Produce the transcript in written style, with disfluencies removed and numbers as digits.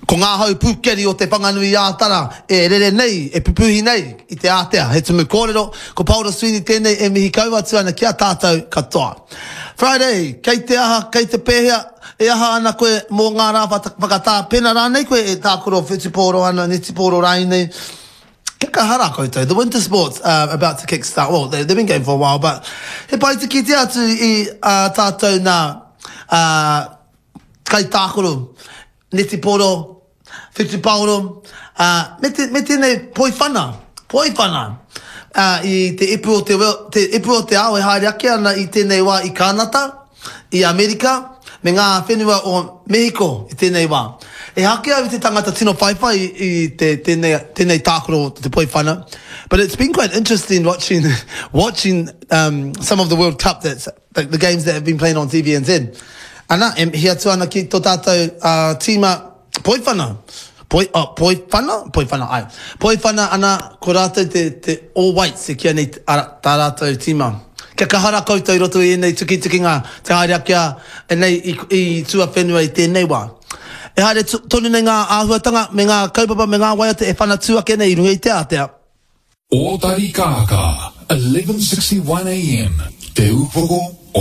Ko ngā hau pūkeri o Te Whanganui-ā-Tara e rere nei, e pupuhi nei i te ātea. He tumu kōrero, ko Paora Sweeney tēnei e mihi kau atu ana ki a tātou katoa. Friday, kei te aha, kei te pēhea, e aha ana koe mō ngā rā whakatā, pēnā rānei koe e tākaro whutupōro ana, netipōro rānei? Kia kaha rā koutou, the winter sports are about to kick start, well, they've been going for a while, but he pai te kite atu i ā tātou nā, ā, kaitākaro, netipōro, whutupaoro, ā, me te, me tēnei poiwhana, poiwhana, ā, i te ipu o te, te ipu o te ao e haere ake ana i tēnei wā i Kānata, i Amerika, me ngā whenua o Mehiko i tēnei wā. Ehake au i te tangata tino whaiwhai i te, tēnei, tēnei tākaro o te poiwhana, but it's been quite interesting watching, watching um, some of the World Cup that's the, the games that have been playing on TVNZ. Ana, e mihi atu ana ki tō tātou uh, tīma Poiwhana. Poi, oh, Poiwhana? Poiwhana, ai. Poiwhana ana, ko rātou te, te All Whites e kīa nei ara, tā rātou tīma. Kia kaha rā koutou i roto i ēnei tukitukinga te haere ake a, e nei i, i tuawhenua i tēnei wā. E haere tonu nei ngā āhuatanga me ngā kaupapa me ngā waiata e whanatū ake nei i runga i te ātea. Ōtari Kākā, 1161 AM, Te Upoko.